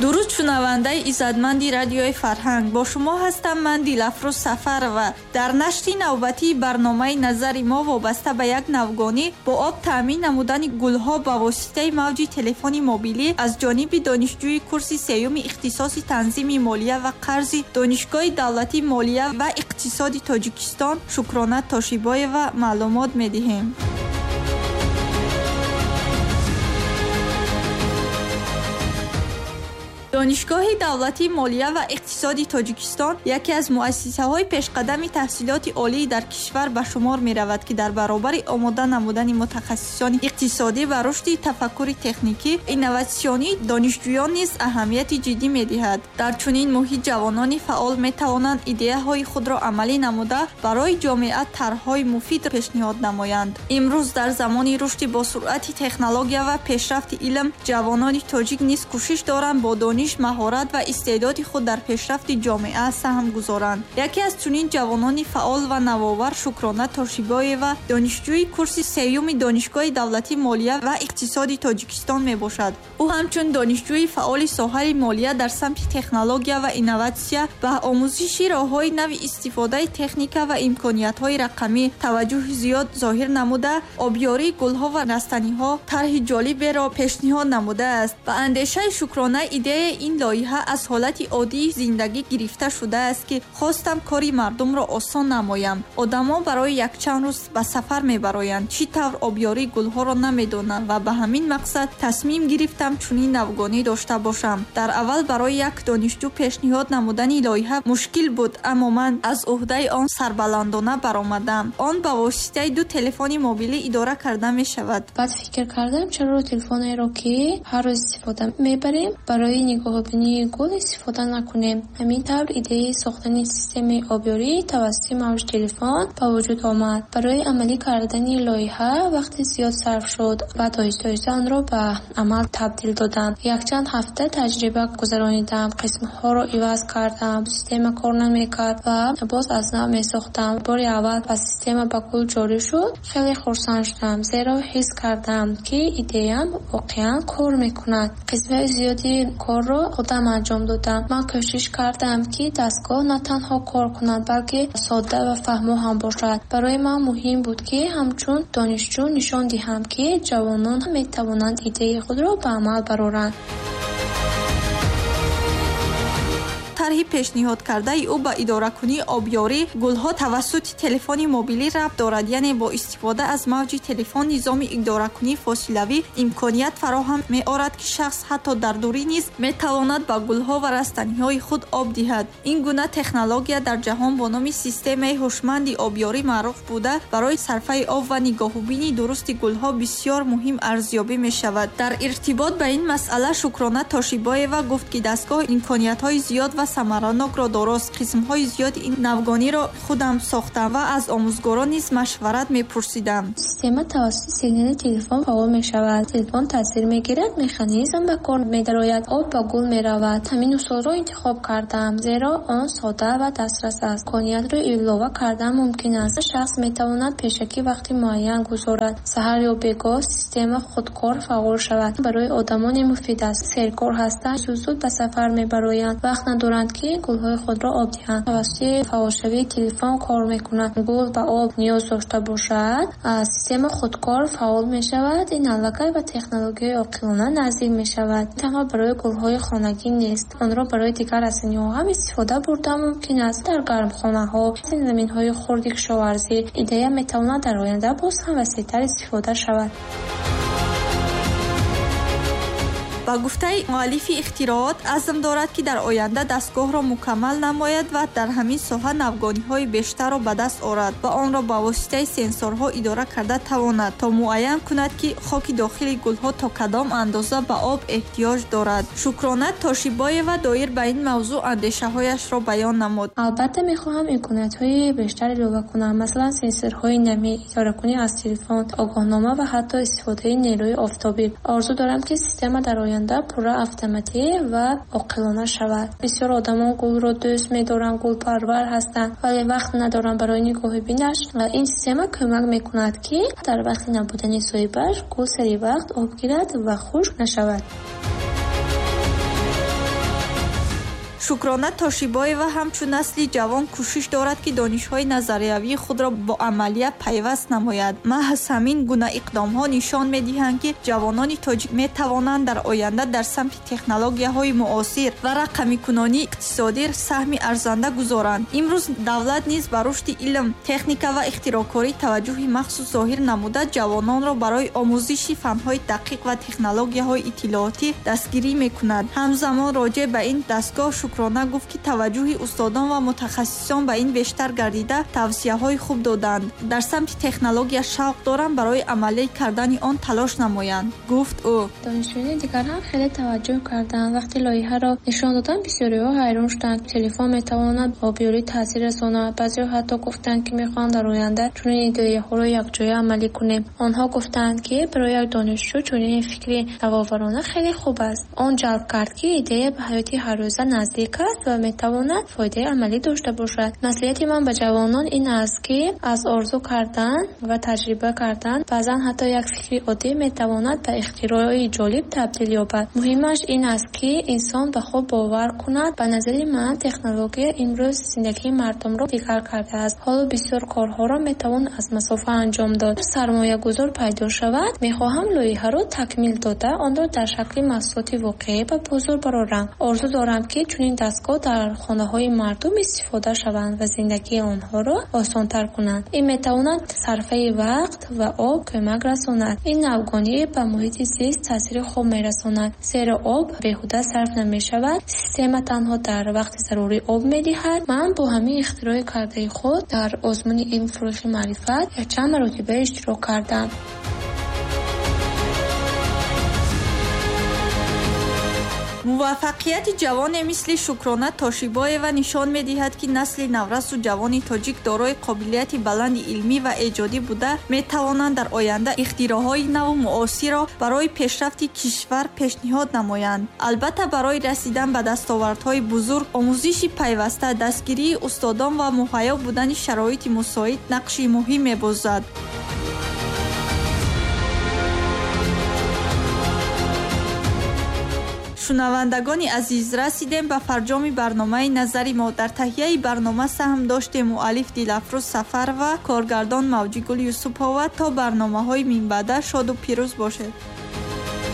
Дуруд, шунавандаи иззатманди радиои Фарҳанг. Бо шумо ҳастам ман, Дилафрӯз Сафарова. Дар нашри навбатии барномаи назари мо вобаста ба як навгонӣ бо об таъмин намудани гулҳо ба воситаи мавҷи телефони мобилӣ аз ҷониби донишҷӯи курси сеюми ихтисоси танзими молия ва қарзи Донишгоҳи давлатии молия ва иқтисоди Тоҷикистон Шукрона Тошибоева маълумот медиҳем. Донишгоҳи давлатии молия ва иқтисоди Тоҷикистон яке аз муассисаҳои пешқадами таҳсилоти олӣ дар кишвар ба шумор меравад, ки дар баробари омода намудани мутахассисони иқтисодӣ ва рушди тафаккури техникӣ, инноватсионии донишҷӯён низ аҳамияти ҷиддӣ медиҳад. Дар чунин муҳит ҷавонони фаъол метавонанд идеяҳои худро амалӣ намуда, барои ҷомеа тарҳҳои муфид пешниҳод намоянд. Имрӯз дар замони рушди босуръати технология ва пешрафти илм, ҷавонони тоҷик низ кӯшиш доранд бо дониш, маҳорат ва истеъдоди худ дар пешрафти ҷомеа саҳм гузоранд. Яке аз чунин ҷавонони фаъол ва навовар Шукрона Тошибоева, донишҷӯи курси сеюми Донишгоҳи давлатии молия ва иқтисоди Тоҷикистон мебошад. Ӯ ҳамчун донишҷӯи фаъоли соҳаи молия дар самти технология ва инноватсия ба омӯзиши роҳҳои нави истифодаи техника ва имкониятҳои рақамӣ таваҷҷӯҳи зиёд зоҳир намуда, обёрии гулҳо ва растаниҳо тарҳи ҷолиберо пешниҳод намудааст. Ба андешаи Шукрона, идеяи ин лоиҳа аз ҳолати оддии зиндагӣ гирифта шудааст, ки хостам кори мардумро осон намоям. Одамон барои якчанд рӯз ба сафар мебароянд, чӣ тавр обёрии гулҳоро намедонанд ва ба ҳамин мақсад тасмим гирифтам чунин навгонӣ дошта бошам. Дар аввал барои як донишҷӯ пешниҳод намудани лоиҳа мушкил буд, аммо ман аз уҳдаи он сарбаландона баромадам. Он ба воситаи ду телефони мобилӣ идора карда мешавад. Баъд фикр кардам, чаро телефонеро, ки ҳар рӯз истифода мебарем, барои нигоҳубинии гул истифода накунем. Ҳамин тавр идеяи сохтани системаи обёрӣ тавассути мавҷи телефон ба вуҷуд омад. Барои амалӣ кардани лоиҳа вақти зиёд сарф шуд ва оҳиста-оҳиста онро ба амал табдил додам. Якчанд ҳафта таҷриба гузаронидам, қисмҳоро иваз кардам, система кор намекард ва боз аз нав месохтам. Бори аввал ба система ба гул ҷорӣ шуд, хеле хурсанд шудам, зеро ҳис кардам, ки идеям воқеан кор мекунад. Қисмҳои зиёди корро худам анҷом додам. Ман кӯшиш кардам, ки дастгоҳ на танҳо кор кунад, балки содда ва фаҳмо ҳам бошад. Барои ман муҳим буд, ки ҳамчун донишҷӯ нишон диҳам, ки ҷавонон метавонанд идеяи худро ба амал бароранд. Тарҳи пешниҳодкардаи ӯ ба идоракунии обёрии гулҳо тавассути телефони мобилӣ рабт дорад, яъне бо истифода аз мавҷи телефон низоми идоракунии фосилавӣ имконият фароҳам меорад, ки шахс ҳатто дар дурӣ низ метавонад ба гулҳо ва растаниҳои худ об диҳад. Ин гуна технология дар ҷаҳон бо номи системаи ҳушманди обёрӣ маъруф буда, барои сарфаи об ва нигоҳубини дурусти гулҳо бисёр муҳим арзёбӣ мешавад. Дар иртибот ба ин масъала Шукрона Тошибоева гуфт, ки дастгоҳ имкониятҳои зиёд ва самаранокро дорост. Қисмҳои зиёди ин навгониро худам сохтам ва аз омӯзгорон низ машварат мепурсидам. Система тавассути сигнали телефон фаъол мешавад. Телефон таъсир мегирад, механизм ба кор медарояд, об ба гул меравад. Ҳамин усулро интихоб кардам, зеро он сода ва дастрас аст. Имкониятро илова кардан мумкин аст. Шахс метавонад пешакӣ вақти муайян гузорад. Саҳар ё бегоҳ система худкор фаъол шавад. Барои одамоне муфид аст, серкор ҳастанд, зуд-зуд ба сафар мебароянд, вақт надоранд, ки гулҳои худро об диҳанд. Тавассути фаъолшавии телефон кор мекунад. Гул ба об ниёз дошта бошад, система худкор фаъол мешавад. Ин аллакай ба технологияи оқилона наздик мешавад. Танҳо барои гулҳои хонагӣ нест, онро барои дигар растаниҳо ҳам истифода бурда мумкин аст. Дар гармхонаҳо, заминҳои хурди кишоварзӣ идея метавонад дар оянда боз ҳам васеътар истифода шавад. Ба гуфтаи муаллифи ихтироот, азм дорад, ки дар оянда дастгоҳро мукаммал намояд ва дар ҳамин соҳа навгониҳои бештарро ба даст орад ва онро ба воситаи сенсорҳо идора карда тавонад, то муайян кунад, ки хоки дохили гулҳо то кадом андоза ба об эҳтиёҷ дорад. Шукрона Тошибоева доир ба ин мавзӯъ андешаҳояшро баён намуд. Албатта, мехоҳам имкониятҳои бештар илова кунам, масалан сенсорҳои намӣ, идоракунӣ аз телефон, огоҳнома ва ҳатто истифодаи нерӯи офтобӣ. Орзу дорам, ки система дар оянда пурра автоматӣ ва оқилона шавад. Бисёр одамон гулро дӯст медоранд, гулпарвар ҳастанд, вале вақт надоранд барои нигоҳубинаш. Ин система кӯмак мекунад, ки дар вақти набудани соҳибаш гул сари вақт об гирад ва хушк нашавад. Шукрона Тошибоева ҳамчун насли ҷавон кӯшиш дорад, ки донишҳои назариявии худро бо амалия пайваст намояд. Маҳз ҳамин гуна иқдомҳо нишон медиҳанд, ки ҷавонони тоҷик метавонанд дар оянда дар самти технологияҳои муосир ва рақамикунонии иқтисодӣ саҳми арзанда гузоранд. Имрӯз давлат низ ба рушди илм, техника ва ихтироъкорӣ таваҷҷӯҳи махсус зоҳир намуда, ҷавононро барои омӯзиши фанҳои дақиқ ва технологияҳои иттилоотӣ дастгирӣ мекунад. Ҳамзамон роҷеъ ба ин дастгоҳ Шукрона гуфт, ки таваҷҷӯҳи устодон ва мутахассисон ба ин бештар гардида, тавсияҳои хуб доданд. Дар самти технология шавқ дорам, барои амалӣ кардани он талош намоянд, гуфт ӯ. Донишҷӯёни дигар ҳам хеле таваҷҷӯҳ карданд. Вақте лоиҳаро нишон доданд, бисёриҳо ҳайрон шуданд. Телефон метавонад ба обёрӣ таъсир расонад. Баъзеҳо ҳатто гуфтанд, ки мехоҳанд дар оянда чунин идеяҳоро якҷоя амалӣ кунем. Онҳо гуфтанд, ки барои як донишҷӯ чунин фикри навоварона хеле хуб аст. Он ҷалб кард, ки идея ба ҳаёти ҳаррӯза наздик аст ва метавонад фоидаи амалӣ дошта бошад. Маслиҳати ман ба ҷавонон ин аст, ки аз орзу кардан ва таҷриба кардан баъзан ҳатто як фикри оддӣ метавонад ба ихтирои ҷолиб табдил ёбад. Муҳимаш ин аст, ки инсон ба худ бовар кунад. Ба назари ман, технология имрӯз зиндагии мардумро дигар кардааст. Ҳоло бисёр корҳоро метавон аз масофа анҷом дод. Сармоягузор пайдо шавад, мехоҳам лоиҳаро такмил дода, онро дар шакли маҳсулоти воқеӣ ба бозор барорам. Орзу дорам, ки чунин дастгоҳ дар хонаҳои мардум истифода шаванд ва зиндагии онҳоро осонтар кунанд. Ин метавонад сарфаи вақт ва об кӯмак расонад. Ин навгонӣ ба муҳити зист таъсири хуб мерасонад, зеро об беҳуда сарф намешавад. Система танҳо дар вақти зарурӣ об медиҳад. Ман бо ҳамин ихтирои кардаи худ дар озмуни илм фурӯғи маърифат якчанд маротиба иштирок кардам. Муваффақияти ҷавоне мисли Шукрона Тошибоева нишон медиҳад, ки насли наврасу ҷавони тоҷик дорои қобилияти баланди илмӣ ва эҷодӣ буда, метавонанд дар оянда ихтироъҳои наву муосирро барои пешрафти кишвар пешниҳод намоянд. Албатта, барои расидан ба дастовардҳои бузург, омӯзиши пайваста, дастгирии устодон ва муҳайё будани шароити мусоид нақши муҳим мебозад. Шунавандагони азиз, расидем ба фарҷоми барномаи назари мо. Дар таҳияи барнома саҳм доштем муаллиф Дилафрӯз Сафарова, коргардон Мавҷигул Юсупова. То барномаҳои минбаъда шоду пирӯз бошед.